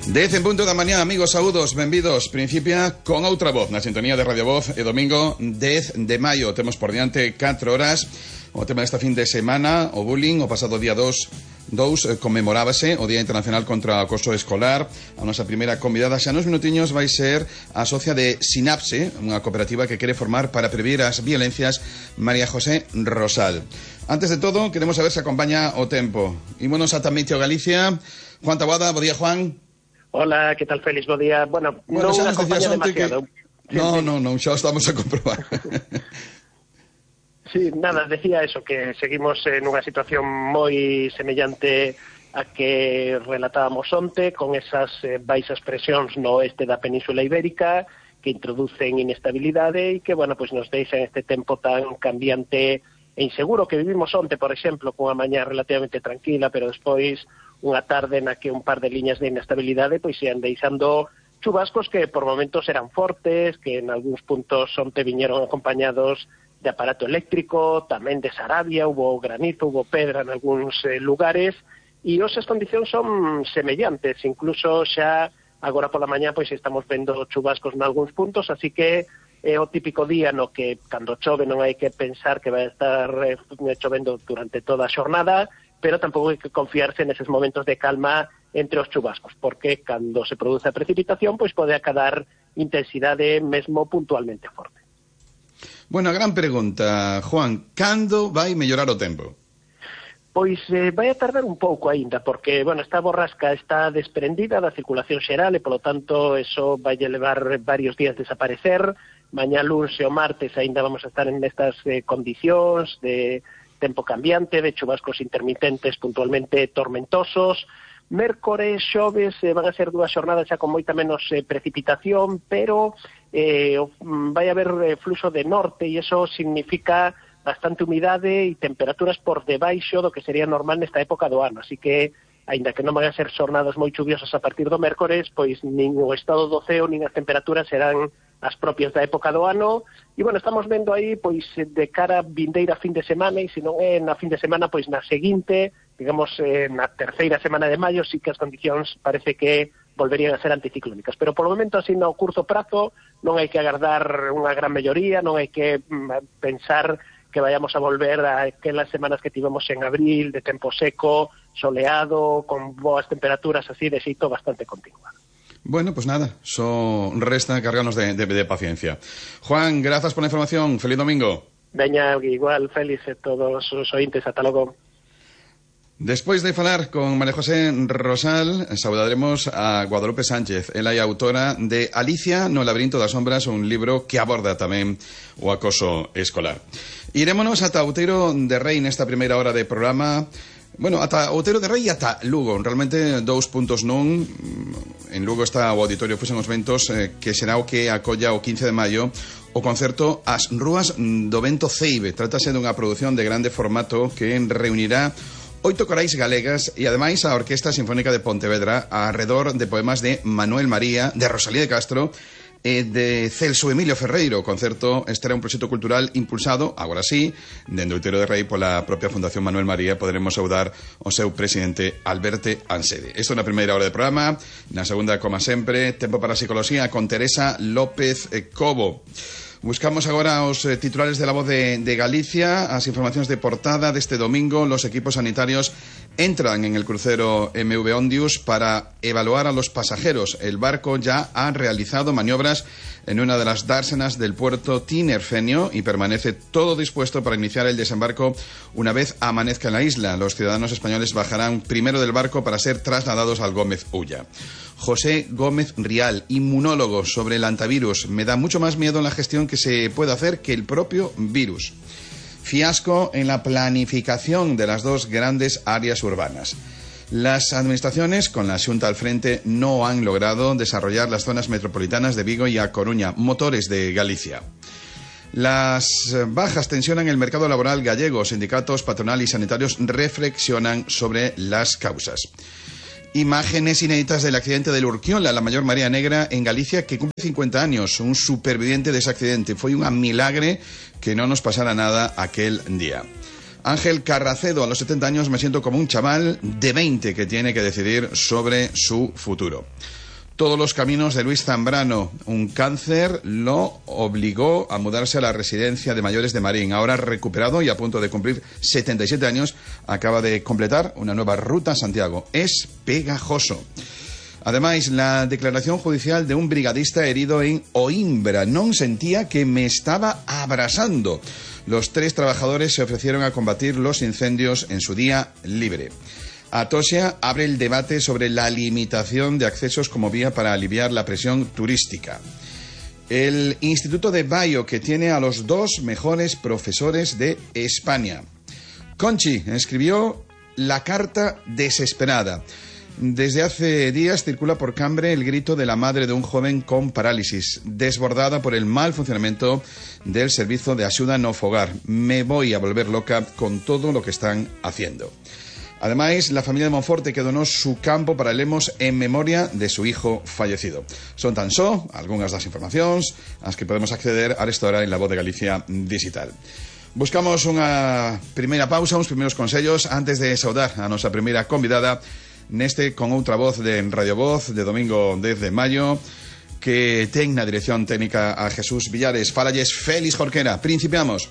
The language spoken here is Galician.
10 en punto da mañá, amigos, saúdos, benvidos. Principia con outra voz na sintonía de Radio Voz e domingo 10 de maio. Temos por diante 4 horas. O tema desta fin de semana, o bullying. O pasado día 2 conmemorábase o Día Internacional contra o Acoso Escolar. A nosa primeira convidada xa nos minutiños vai ser a socia de Sinapse, unha cooperativa que quere formar para prevenir as violencias, María José Rosal. Antes de todo, queremos saber se acompaña o tempo. Ímonos a Tamíteo, Galicia. Juan Taboada, bo día, Juan. Hola, que tal, Félix? Bo día. Bueno, non acompaña demasiado. Que... Non, xa estamos a comprobar. Sí, nada, decía eso, que seguimos nunha situación moi semellante a que relatábamos onte, con esas baixas presións no oeste da Península Ibérica, que introducen inestabilidade e que, bueno, pues nos deixan este tempo tan cambiante e inseguro que vivimos onte, por exemplo, cunha mañá relativamente tranquila, pero despois unha tarde na que un par de liñas de inestabilidade pois ian deixando chubascos que por momentos eran fortes, que en algúns puntos onte viñeron acompañados de aparato eléctrico, tamén de Sarabia, hubo granizo, hubo pedra en algúns lugares, e esas condicións son semellantes, incluso xa agora pola mañá pois estamos vendo chubascos en algúns puntos, así que é o típico día no que cando chove non hai que pensar que vai estar chovendo durante toda a xornada, pero tampouco hai que confiarse neses momentos de calma entre os chubascos, porque cando se produce a precipitación, pois pode acadar intensidade mesmo puntualmente forte. Bueno, a gran pregunta, Juan, cando vai mellorar o tempo? Pois vai a tardar un pouco aínda, porque, bueno, esta borrasca está desprendida da circulación xeral e, polo tanto, eso vai levar varios días desaparecer. Mañá luns e o martes aínda vamos a estar en estas condicións de tempo cambiante, de chubascos intermitentes puntualmente tormentosos. Mércores, xoves, van a ser dúas xornadas xa con moita menos precipitación, pero vai haber fluxo de norte e iso significa bastante humidade e temperaturas por debaixo do que sería normal nesta época do ano, así que aínda que non van a ser xornadas moi chuviosas a partir do mércores, pois nin o estado do ceo nin as temperaturas serán as propias da época do ano, e, bueno, estamos vendo aí, pois, de cara a vindeira fin de semana, e se non é na fin de semana, pois na seguinte, digamos, na terceira semana de maio, sí que as condicións parece que volverían a ser anticiclónicas, pero polo momento, así, no curto prazo, non hai que agardar unha gran melloría, non hai que pensar que vayamos a volver a aquelas semanas que tivemos en abril, de tempo seco, soleado, con boas temperaturas así, de xeito bastante continuado. Bueno, pues nada, só resta cargarnos de paciencia. Juan, grazas por la información. Feliz domingo. Veña, igual, Félix, e todos os ointes, ata logo. Despois de falar con María José Rosal, saudaremos a Guadalupe Sánchez. Ela é autora de Alicia no laberinto das sombras, un libro que aborda tamén o acoso escolar. Irémonos ata Outeiro de Rei nesta primeira hora de programa. Bueno, ata Outeiro de Rei e ata Lugo. Realmente 2 puntos nun. En Lugo está o Auditorio Fusen os Ventos, que será o que acolla o 15 de maio o concerto As Rúas do Vento Ceibe. Trátase dunha produción de grande formato que reunirá 8 corais galegas e ademais a Orquesta Sinfónica de Pontevedra arredor de poemas de Manuel María, de Rosalía de Castro e de Celso Emilio Ferreiro. O concerto estará un proxecto cultural impulsado, agora sí, dende Outeiro de Rei pola propia Fundación Manuel María. Poderemos saudar o seu presidente Alberto Ansede. Isto na primeira hora de programa. Na segunda, como sempre, tempo para a psicología con Teresa López Cobo. Buscamos agora os titulares de La Voz de Galicia, as informacións de portada deste domingo. Los equipos sanitarios entran en el crucero MV Ondius para evaluar a los pasajeros. El barco ya ha realizado maniobras en una de las dársenas del puerto Tinerfeño y permanece todo dispuesto para iniciar el desembarco una vez amanezca en la isla. Los ciudadanos españoles bajarán primero del barco para ser trasladados al Gómez Ulla. José Gómez Rial, inmunólogo, sobre el antivirus. Me da mucho más miedo en la gestión que se puede hacer que el propio virus. Fiasco en la planificación de las dos grandes áreas urbanas. Las administraciones, con la Xunta al frente, no han logrado desarrollar las zonas metropolitanas de Vigo y A Coruña, motores de Galicia. Las bajas tensionan el mercado laboral gallego. Sindicatos, patronal y sanitarios reflexionan sobre las causas. Imágenes inéditas del accidente del Urquiola, la mayor marea negra en Galicia, que cumple 50 años. Un superviviente de ese accidente. Foi un milagre que no nos pasara nada aquel día. Ángel Carracedo, a los 70 años me siento como un chaval de 20 que tiene que decidir sobre su futuro. Todos los caminos de Luis Zambrano. Un cáncer lo obligó a mudarse a la residencia de mayores de Marín. Ahora recuperado y a punto de cumplir 77 años, acaba de completar una nueva ruta a Santiago. Es pegajoso. Ademais, la declaración judicial de un brigadista herido en Oimbra. Non sentía que me estaba abrasando. Los 3 trabajadores se ofrecieron a combatir los incendios en su día libre. Atosia abre el debate sobre la limitación de accesos como vía para aliviar la presión turística. El Instituto de Bayo, que tiene a los 2 mejores profesores de España. Conchi escribió la carta desesperada. Desde hace días circula por Cambre el grito de la madre de un joven con parálisis, desbordada por el mal funcionamiento del servicio de ayuda no fogar. Me voy a volver loca con todo lo que están haciendo. Ademais, la familia de Monforte que donó su campo para Lemos en memoria de su hijo fallecido. Son tan só algunhas das informacións ás que podemos acceder a esta hora en La Voz de Galicia Digital. Buscamos unha primeira pausa, uns primeiros consellos antes de saudar a nosa primeira convidada neste con outra voz de Radio Voz de domingo 10 de maio que ten na dirección técnica a Jesús Villares. Falalles Félix Jorquera. Principiamos.